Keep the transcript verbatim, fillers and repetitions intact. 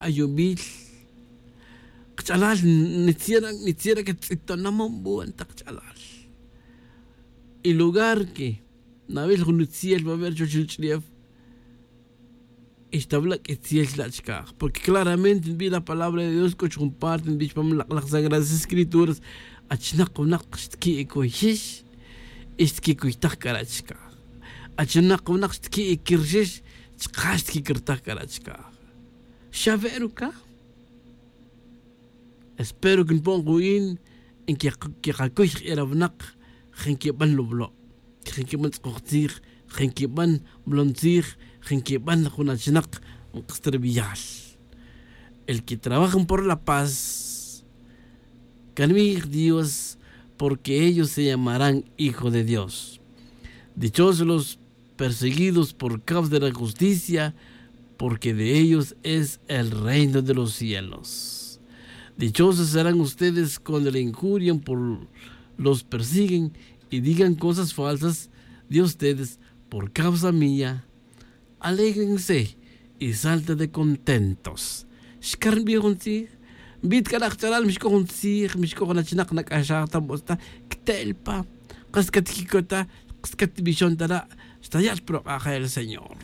Ayubil kach'alal. Nitziera nitziera catz'itona mambuan ta kach'alal. Y lugar que nawil jun nitziel va ver chuwech ri ch'ulef. Y xtawila' q'uitziel chila' chicaj porque claramente nbij la palabra de dios c'o chujun parte nbij chupam lak' laj sagradas escrituras. Achinak winak xtiqui'icuyix y xtiquicuytaj cara' chicaj. Achinak winak xtiqui'icirxix chaka' xtiquicirtaj cara' chicaj. Xave' ruca. Espero que npon ku'in nkeqacuy jq'uira winak. Je' nquiban lublo', je' nquiban tz'ukoj tzij, je' nquiban molon tzij, je' nquiban jun achinak. Nk'astrabiyal el que trabajan por la paz. Canbij dios, porque ellos se llamarán hijo de dios. Dichosos los perseguidos por causa de la justicia, porque de ellos es el reino de los cielos. Dichosos serán ustedes cuando le injurian por los persiguen y digan cosas falsas de ustedes por causa mía. Alégrense y salten de contentos. Xcar nbij jun tzij. Nbij ta c'a rak ch'alal mixc'o jun tzij mixc'o jun achinak nac'axaj ta mo'osta. Cte'el pa kas catquicota. Kas catbixon ta ra'. Xtaya' chupro k'ajel señor.